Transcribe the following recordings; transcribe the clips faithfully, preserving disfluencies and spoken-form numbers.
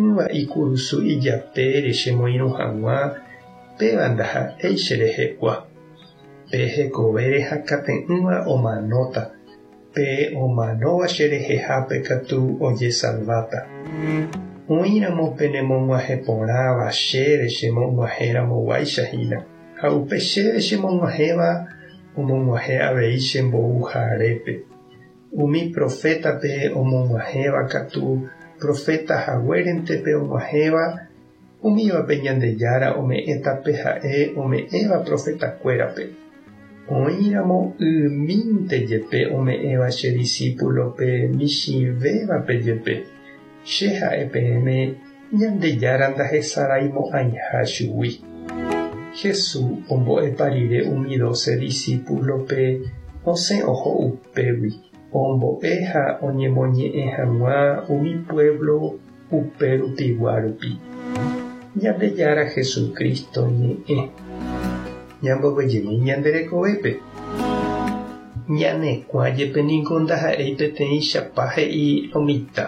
Ogueraha'ỹva ikurusu ijapére chemoirũ hag̃ua, péva ndaha'éi cherehegua. Pe hekovére hakate'ỹva omanóta, pe omanóva cherehehápe katu ojesalváta. Oĩramo penemog̃uahẽporãva chéve chemog̃uahẽramoguáicha hína ha upe chéve chemog̃uahẽva omog̃uahẽ avei chembouharépe. Umi profétape omog̃uahẽva katu profeta haguérente pe og̃uahẽva umívape Ñandejára ome'ẽta pe ha'e ome'ẽva profetakuérape. Oĩramo ymínte jepe ome'ẽva che discípulope michĩvévape jepe che ha'e peẽme Ñandejára ndahesaraimo'ãiha chugui. Jesús ombo'epa rire umi doce discípulope osẽ oho upégui ombo'e ha oñemoñe'ẽ hag̃ua umi pueblo upérupigua rupi. Ñandejára Jesucristo ñe'ẽ. Ñamboguejymi ñande rekovépe. Ñane kuã jepe niko ndaha'éi peteĩ chapa he'i lo mitã.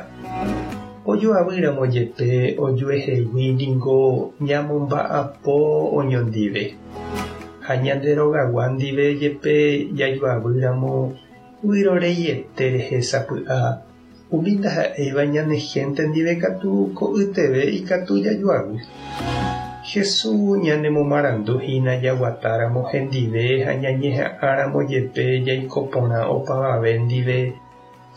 Ojoavýramo jepe ojuehegui niko ñamomba'apo oñondive. Ha ñande rogagua ndive jepe jajoavýramo vyroreiete rehe sapy'a umi ndaha'éiva ñane gente ndive katu ko'yteve ikatu jajoavy. Jesús ñanemomaranduhína jaguatáramo hendive ha ñañeha'ãramo jepe jaiko porã opavave ndive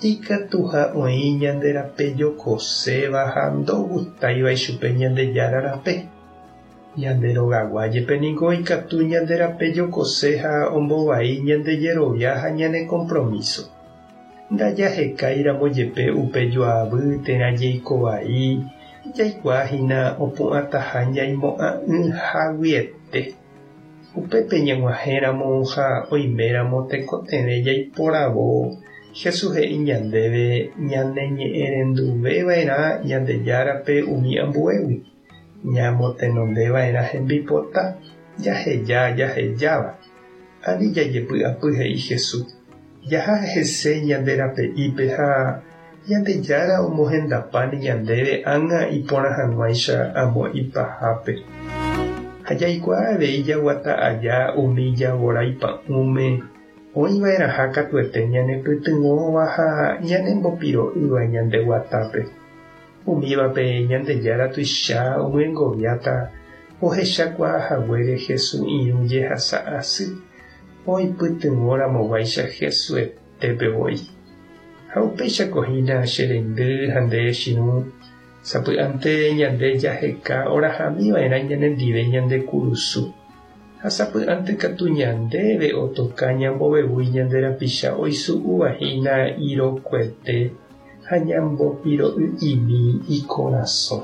ikatuha oĩ ñande rape jokoséva ha ndogustáiva ichupe Ñandejára rape. Ñande rogagua jepe niko ikatu ñande rape jokose ha ombovai ñande jerovia ha ñane compromiso. Ndajahekáiramo jepe upe joavy térã jeikovai jaikuaahína opu'ãtaha ñaimo'ã'ỹhaguiete. Upépe ñag̃uahẽramo ha oiméramo tekotevẽ jaiporavo Jesús he'i ñandéve ñaneñe'ẽrenduveva'erã Ñandejárape umi ambuégui. Ñamotenondeva'erã hembipota jaheja jahejáva. Ani jajepy'apy he'i Jesús. Jaha hese ñande rape'ípe ha Ñandejára omohendapáne ñandéve ág̃a iporã hag̃uáicha amo ipahápe. Ha jaikuaa avei jaguata aja umi javorái pa'ũme oĩva'erãha katuete ñanepytyvõva ha ñanembopiro'ýva ñande guatápe. Umívape Ñandejára tuicha omyengoviáta ohechakuaahaguére Jesús irũ jehasa asy oipytyvõramoguáicha Jesuetépe voi. Ha upéichako hína che reindy ha nde che irũ sapy'ánte ñande jaheka orahamiva'erã ñanendive ñande kurusu. Ha sapy'ánte katu ñandéve otoka ñambovevúi ñande rapicha oisu'uvahína irokuete ha ñambopiro'y'imi ikorasõ.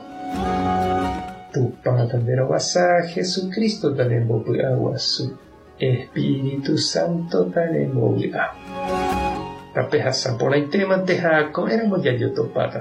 Tupã tanderovasa Jesucristo tanembopy'aguasu. Espíritu Santo tanembovy'a. Tapehasa porãitémante ha ko'ẽramo jajotopáta.